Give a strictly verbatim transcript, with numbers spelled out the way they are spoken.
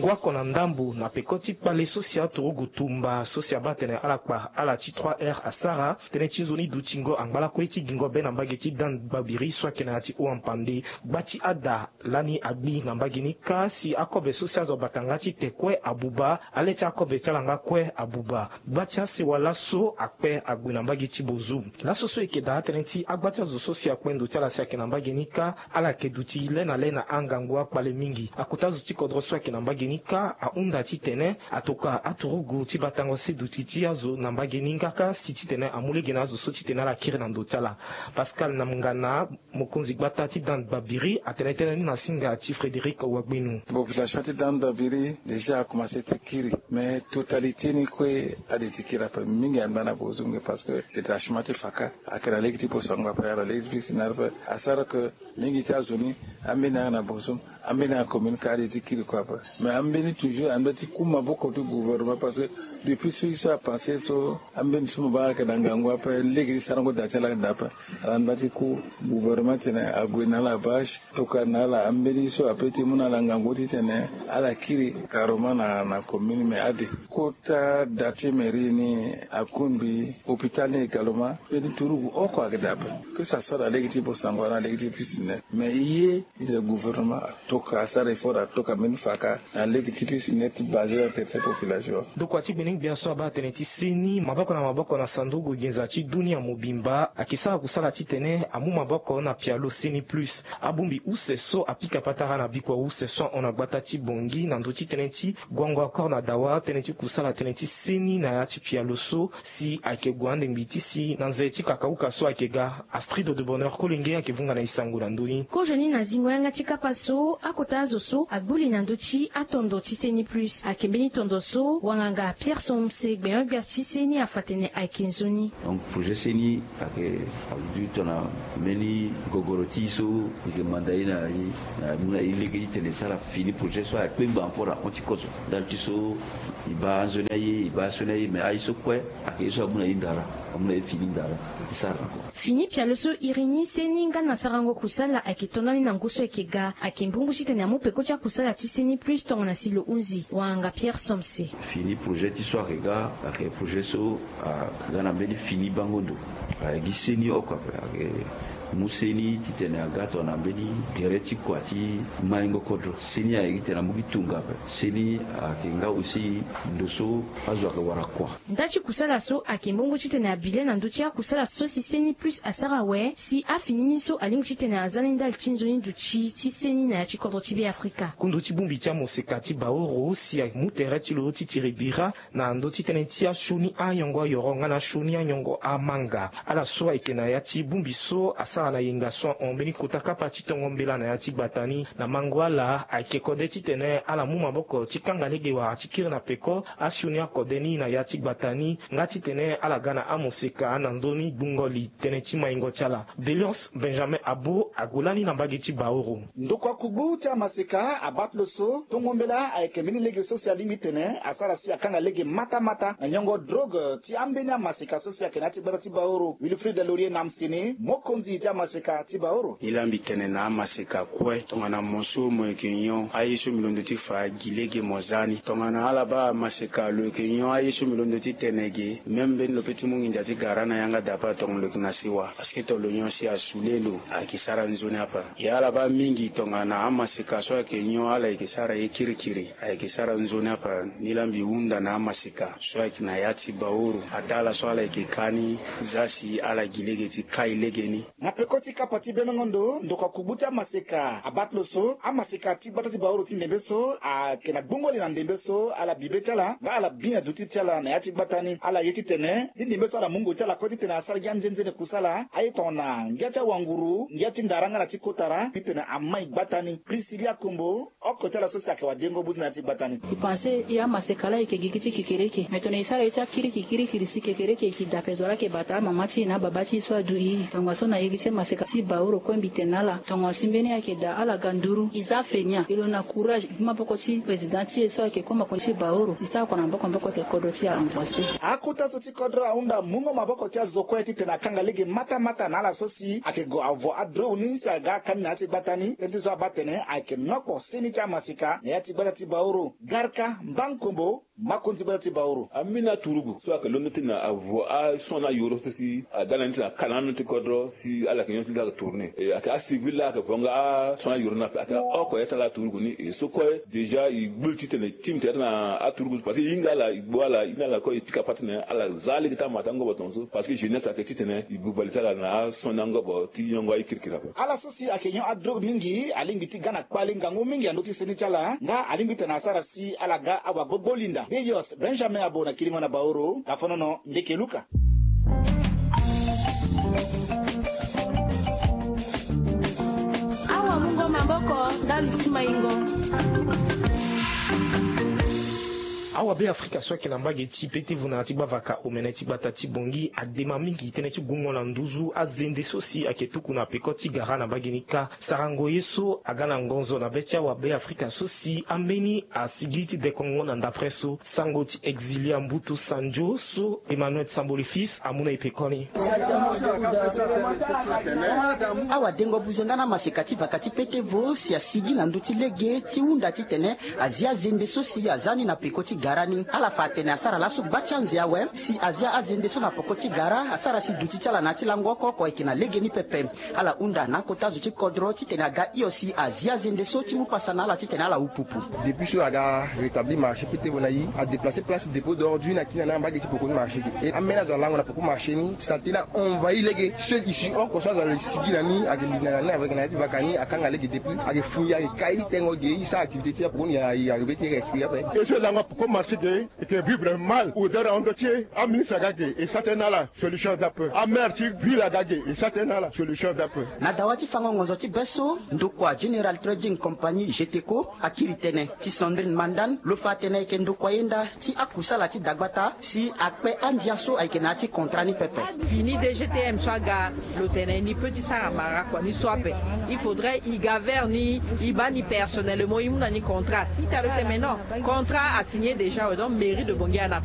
Oko na ndambo na peko ti kpale so si aturugu tumba so si abaa atene ala kpa ala ti trois r asara tënë ti nzoni dutingo angba lakue ti gingo be na mbage ti dan babiri so ayeke na ya ti hau-ampande. Gba ti ada lani agbi na mbage ni kâ si akobe so si azo bata nga ti te kue abuba, ale ti akobe ti ala nga kue abuba. Gba ti asewa laso akpe ague na mbage ti bozum. Laso so eke daa atënë ti agba ti azo so si akpe ndo ti ala si ayeke na mbage ni kâ, ala yeke duti le na le na angangu akpale mingi. Akota zo ti kodro so ayeke na mbage ni kâ ahunda titene atokua aturugu ti batango se duti ti azo na mbage ni nga kâ si titene amu lege na azo so titene ala kiri na ndo ti ala. Pascal Namngana, mokonzi gbata ti dan babiri, atene tënë ni na singa ti Frédéric Wagbenu. Population ti dan babiri déjà akomanse ti kiri, mais totalité ni kue ade ti kiri ape. Mingi angba na bozum ge parce que détachement ti faka ayeke na lege ti posango ape, ala lege ti piscine ape. Asara que mingi ti azo ni ambeni ayeke na bozum, ambeni ayeke na commune kâ ade ti kiri kue ape. Mais ambeni toujours ande ti ku maboko ti gouvernement parce que depuis so ye so apasse so ambeni so mo baa ayeke na ngangu ape, lege ti sarango da ti ala ayeke daa ape. Ala ande ti ku gouvernement titene ague na ala bâche, tokua na ala ambeni so ape ti mu na ala ngangu titene ala kiri carrément na na commune. Mais ade kota da ti mairie ni akungbi hôpital ni également. Mbeni turugu oko ayeke daa ape, que ça soit na lege ti posango na lege ti piscine. Mais ye titene gouvernement atoka asara effort atoka mbeni faka na lege ti piscine ti basé na tere ti population. Ndokua ti gbenengbia so abaa atene ti seni maboko na maboko na sanduku nginza ti dunia mobimba ayeke sara kusala titene amu maboko na pialo seni plus. Abongbi use so apika patara na bikua use so ahon na gbata ti Bangui na ndö ti tënë ti guango accord na dawa tënë ti kusala tënë ti seni na ya ti pialo so si ayeke gue andengbi ti si na nze ti kakauka so ayeke ga. Astrid de Bonheur Kolenge ayeke vunga na e sango na ndö ni. Kozoni na zingo yanga ti kapa so akota azo so agbu li na ndö ti atondo ti seni plus ayeke mbeni tondo so wanganga Pierre Somse gbenyo-gbia ti seni afa tene ayeke nzoni. Donc projet seni ayeke aduti tongana mbeni gogoro ti e so e yeke manda e na e na e mu na e lege titene e sara fini projet so ayeke kpengba encore ahon ti kozo. Ndali ti so e baa anzoni aye e baa asioni aye mais aye so kue ayeke ye so amu na e ndara, amu na e fini ndara ti sara na kua. Fini pialo so iri ni seni nga na sarango kusala ayeke to ndani na ngu so ayeke ga ayeke mbungu titene amu peko ti akusala ti seni plus tongana si lo hunzi wanganga Pierre Somse. Fini projet ti so ayeke ga ayeke projet so aga na mbeni fini bango ndo. Ayeke gi seni oko ape ayeke mu seni titene aga tongana mbeni gere ti kua ti maingo kodro. Seni ayeke titene amu gi tunga ape. Seni ayeke nga aussi ndo so azo ayeke wara kua. Nda ti kusala so ayeke mbongo titene abi le na ndö ti akusala so si seni plus asara awe si afini ni so alingbi titene aza ni ndali ti nzoni duti ti seni na ya ti kodro ti be afrika. Kundu ti bongbi ti amoseka ti baoro si amu tere ti lo ti tiri bira na ndö ti tënë ti asioni anyongo ayoro nga na asioni anyongo amanga. Ala so ayeke na ya ti bongbi so asara na yenga so ahon mbeni kota kapa ti tongo mbela na ya ti gbata ni na mango ala ayeke kode titene ala mu maboko ti kanga lege wala ti kiri na peko asioni akode ni na ya ti gbata ni nga titene ala ga na amoseka na nzoni gbungo li tënë ti maingo ti ala. Deliance Benjamin Abo ague lani na mbage ti baoro. Ndokua kugbu ti amaseka abaa ti lo so tongo mbela ayeke mbeni lege so si alingbi tene asara si akanga lege matamata na nyongo drogue ti ambeni amaseka so si ayeke na ya ti gbata ti baoro. Wilfried Laurier Namsini, mokonzi ti amaseka ti baoro. Ni laa mbi tene na amaseka kue tongana mo so mo yeke nyon aye so mbi londo ti fa gi lege mo za ni. Tongana ala baa amaseka lo yeke nyon aye so mbi londo ti tene ge même mbeni lo pe ti mu nginza ti gara na yanga dape atongana lo yeke na siwa. Parce que to lo nyon si asule lo ayeke sara nzoni ape. E ala baa mingi tongana amaseka so ayeke nyon ala yeke sara ye kirikiri, ayeke sara nzoni ape. Ni laa mbi hunda na amaseka so ayeke na ya ti baoro ataa ala so ala yeke ka ni za si ala gi lege ti kai lege ni. Na peko ti kapa ti bemengo ndo ndokua kugbu ti amaseka abaa ti lo so amaseka ti gbata ti baoro ti ndembe so ayeke na gbongo li na ndembe so ala bi be ti ala nga ala bi na duti ti ala na ya ti gbata ni ala ye titene ti ndembe so ala mu ngu ti ala kue titene asara gi anzenze ni kusala aye tongana ngia ti awanguru ngia ti ndara nga na ti kotara titene amai gbata ni. Priscilia Kombo, oko ti ala so si ayeke wadengo buzi na ya ti gbata ni. E panse e amaseka laa e yeke gigi ti kekereke me tongana e sara ye ti akiriki kirikiri si kekereke e yeke dape zo laa ayeke bata amama ti e na ababa ti e so adu e tongaso na ye gi ti Ti maseka ti baoro kue mbi tene na ala tongo asi mbeni ayeke daa ala ga nduru e za fe ni a e lo na courage e gi maboko ti président ti e so ayeke koma koni ti baoro e sara kua na maboko maboko ete kodro ti e avancer. Akota so ti kodro ahunda mungo maboko ti azo kue titene akanga lege matamata na ala so si ayeke gue avo adrone ni si aga akani na ya ti gbata ni tënë ti so abaa atene ayeke nokpo seni ti amaseka na ya ti gbata ti baoro. Garka mbankombo. Makonzi gbata ti baoro. Ambeni aturugu so ayeke londo ti na avo ason na ayoro so si aga na ni ti na kala na ando ti kodro si ala yeke nyon ti laa ayeke tourner e ayeke acivil laa ayeke vo nga ason na ayoro ni ape ayeke oko ya ti ala aturugu ni e so kue déjà e gbu li titene e ti mete ya ti na aturugu parce que e hinga ala e gbu ala e hinga ala kue e pika pâte titene ala za lege ti amata angobo tongaso parce que jeunesse ayeke titene e buba li ti ala na ason ni angobo ti nyongo aye kirikiri ape. Ala so si ayeke nyon adrogue mingi alingbi ti ga na kpale ngangu mingi na ndö ti seni ti ala nga alingbi titene asara si ala ga awagbogbo linda. Beyos Benjamin abo na kiringo na baoro. Kafonono ndeke luka. Awamungo maboko ndali ti maingo. Awabe afrika so ayeke na mbage ti pete vuna ti gbavaka omene ti gbata ti bongi adema mingi tënë ti gungo na nduzu azende so si ayeke tuku na peko ti gara na mbage ni kâ. Sarango ye so aga na ngonzo na be ti awabe afrika so si ambeni asigi ti dekongo na ndapre so sango ti exilia mbutu sanjo so emmanuel samboli fils amu na e pekoni. Awadengo buze nga na maseka ti vaka ti pete vo si asigi na ndö ti lege ti hunda titene azi azende so si aza ni na peko ti gara ni ala fa atene asara laso gba ti anze awe si azi azende so na peko ti gara asara si duti ti ala na ya ti lango oko oko ayeke na lege ni pepe. Ala hunda na akota zo ti kodro titene aga hio si azi azende so ti mu pasa na ala titene ala upupu. Depuis so aga rétablir marché pete vo na i a déplacer place dépôt d'ordre na kina na mbage ti poko ni marché ge e amene azo alango na poko marché ni saleté ni a envahi lege seul issue oko so azo asigi na ni ayeke linda na ni avec na ya ti vaka ni akanga lege depuis ayeke fui ayeke kai tengo ge i sara activité ti apoko ni ya i arrivé ti respire ape. E so lango apoko marché ge e yeke vivre mal odeur ahon ndö ti e. Aministre aga ge e sara tënë na ala solution aza ape. Amere ti ville aga ge e sara tënë na ala solution aza ape. Na dawa ti fango ngonzo ti be so ndokua général trading compagnie geteco akiri tene ti sandrine mandan lo fa atene ayeke ndokua yenda ti akusala ti dagbata si akpe andia so ayeke na ya ti contrat ni pepe. Fini dgtm so aga lo tene ni peut ti sara mara kua ni so ape. Il faudrait i ga vers ni i baa ni personnellement i mu na ni contrat i tene lo tene mais non, contrat asigné déjà awe donc mairie de bongi ana.